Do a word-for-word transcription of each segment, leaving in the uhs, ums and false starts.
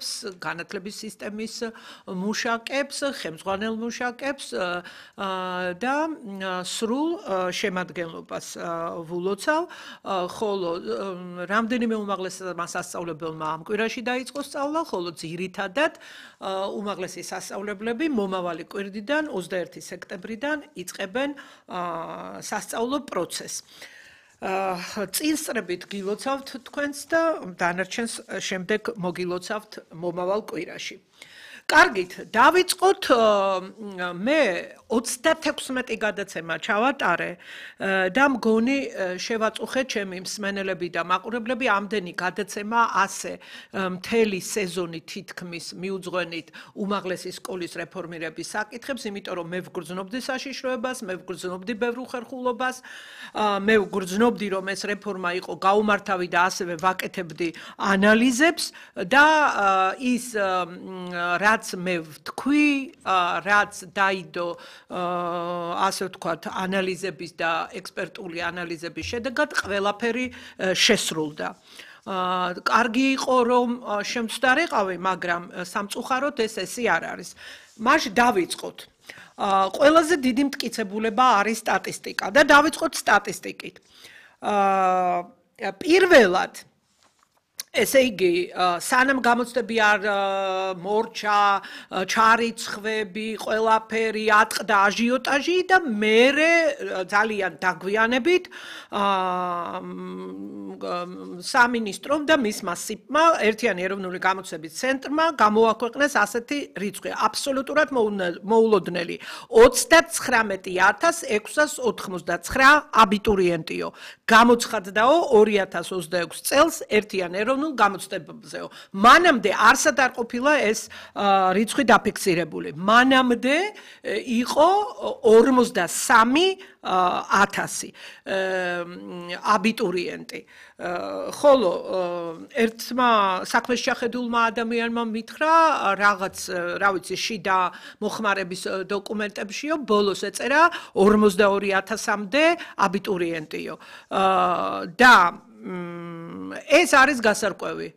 მუშაკებს, განათლების სისტემის მუშაკებს, ხელმძღვანელ მუშაკებს და სრულ შემადგენლობას ვულოცავ, ხოლო რამდენიმე უმაღლესმა სასწავლებელმა ამ კვირაში დაიწყო სწავლა, ხოლო ძირითადად უმაღლესი სასწავლებლები მომავალი კვირიდან ოცდაერთი სექტემბრიდან იწყებენ სასწავლო პროცესს. წინსწრებით გილოცავთ თქვენს და დანარჩენს შემდეგ მოგილოცავთ მომავალ კვირაში. კარგით, დავიწყოთ მე ოცდათექვსმეტი გადაცემა ჩავატარე და მგონი შევაწუხე ჩემი მსმენელები და მაყურებლები ამდენი გადაცემა ასე მთელი სეზონი თითქმის მიუძღვენით უმაღლესი სკოლის რეფორმირების საკითხებს, იმიტომ რომ მე ვგრძნობდი საშიშროებას, მე ვგრძნობდი ბევრ უხერხულობას, მე ვგრძნობდი რომ ეს რეფორმა იყო გაუმართავი და ასევე ვაკეთებდი ანალიზებს და ის რაც მე ვთქვი, რაც დაიდო ასე ვთქვათ, ანალიზების და ექსპერტული ანალიზების შედეგად ყველაფერი შესრულდა. კარგი იყო რომ შემცდარიყავი, მაგრამ სამწუხაროდ ეს ესე არ არის. მაშ დავიწყოთ. ყველაზე დიდი მტკიცებულება არის სტატისტიკა და დავიწყოთ სტატისტიკით. პირველად ესე იგი, სანამ გამოცდები არ მორჩა, ჩარიცხვები, ყველაფერი ატყდა აჟიოტაჟი და მერე ძალიან დაგვიანებით სამინისტრომ და მისმა სიპმა, ერთიანი ეროვნული გამოცდების ცენტრმა გამოაქვეყნეს ასეთი რიცხვი, აბსოლუტურად მოულოდნელი ოცდაცხრამეტი ათას ექვსას ოცდათხმოცდაცხრა აბიტურიენტიო. გამოცხადდაო ორი ათას ოცდაექვსი წელს ერთიან ეროვნულ გამოცდებებზეო. მანამდე არსად არ ყოფილა ეს რიცხვი დაფიქსირებული. მანამდე იყო ორმოცდასამი ათასი აბიტურიენტი. ხოლო ერთმა საქმეში შეხედულმა ადამიანმა მითხრა რაღაც, რა ვიცი, შიდა მოხმარების დოკუმენტებშიო, ბოლოს ეწერა ორმოცდაორი ათასამდე აბიტურიენტიო. და ეს არის გასარკვევი.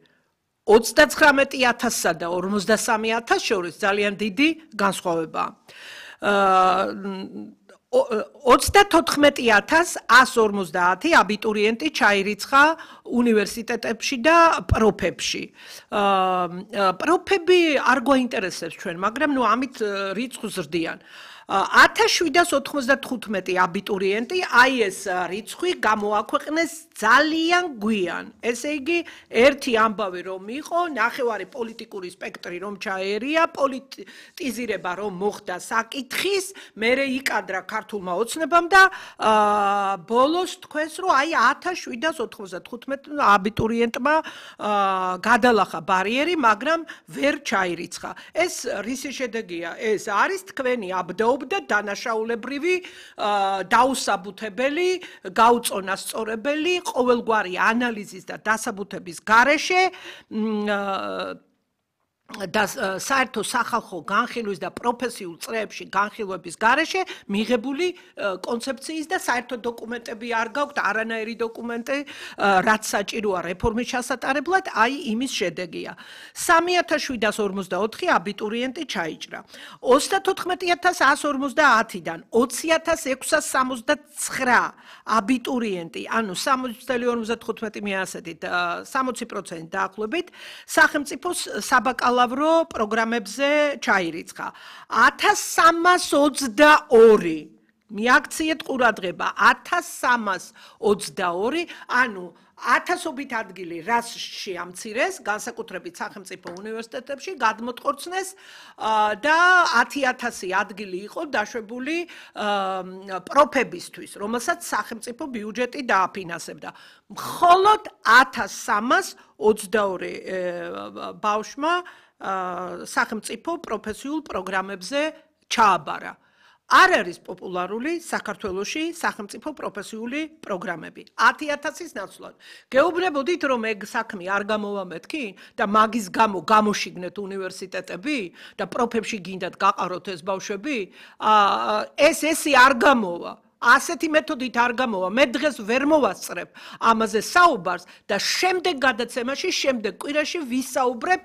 ოცდაცხრამეტი ათასსა და ორმოცდასამი ათასს შორის ძალიან დიდი განსხვავებაა. ოცდათოთხმეტი ათას ათას ორმოცდაათი აბიტურიენტი ჩაირიცხა უნივერსიტეტებში და პროფებში. პროფები არ გვაინტერესებს ჩვენ, მაგრამ ნუ ამით რიცხვს ზრდიან. ათას შვიდას ოცდათხუთმეტი აბიტურიენტი, აი ეს რიცხვი გამოაქვეყნეს ძალიან გვიან. ესე იგი, ერთი ამბავი რომ იყო, ნახევარი პოლიტიკური სპექტრი რომ ჩაერია, პოლიტიზირება რომ მოხდა საკითხის, მერე იკადრა ქართულმა ოცნებამ და ბოლოს თქვენს რომ აი ათას შვიდას ოცდათხუთმეტი აბიტურიენტმა გადალახა ბარიერი, მაგრამ ვერ ჩაირიცხა. ეს რისი შედეგია? ეს არის თქვენი აბდო და დანაშაულებრივი დაუსაბუთებელი, გაუწონასწორებელი, ყოველგვარი ანალიზის და დასაბუთების გარეშე და საერთო სახალხო განხილვის და პროფესიულ წრეებში განხილვების გარეშე მიღებული კონცეფციის და საერთო დოკუმენტები არ გაქვთ, არანაირი დოკუმენტი, რაც საჭიროა რეფორმის ჩასატარებლად, აი იმის შედეგია. სამი ათას შვიდას ორმოცდაოთხი აბიტურიენტი ჩაიჭრა. ოცდათოთხმეტი ათას ათას ორმოცდაათიდან ოცი ათას ექვსას სამოცდაცხრა აბიტურიენტი, ანუ სამოცდაორი ორმოცდათხუთმეტი მიასედით სამოცი პროცენტი დაახლოებით, სახელმწიფოს საბაკალავრო პროგრამებზე ჩაირიცხა. ათას სამას ოცდაორი მიაქციეთ ყურადღება, ათას სამას ოცდაორი, ანუ ათასობით ადგილი რას შეამცირეს, განსაკუთრებით სახელმწიფო უნივერსიტეტებში გადმოტყორცნეს და ათი ათასი ადგილი იყო დაშვებული პროფებისთვის, რომელსაც სახელმწიფო ბიუჯეტი დააფინანსებდა. მხოლოდ ათას სამას ოცდაორი ბავშვმა სახელმწიფო პროფესიულ პროგრამებზე ჩააბარა. არ არის პოპულარული საქართველოში სახელმწიფო პროფესიული პროგრამები. ათი ათასის ნაცვლად. გეუბნებოდით, რომ ეგ საქმე არ გამოვა მეთქი და მაგის გამო გამოშიგნეთ უნივერსიტეტები და პროფებში გინდათ გაყაროთ ეს ბავშვები, ეს ესე არ გამოვა. ასეთი მეთოდით არ გამოვა. მე დღეს ვერ მოვასწრებ ამაზე საუბარს და შემდეგ გადაცემაში, შემდეგ კვირაში ვისაუბრებ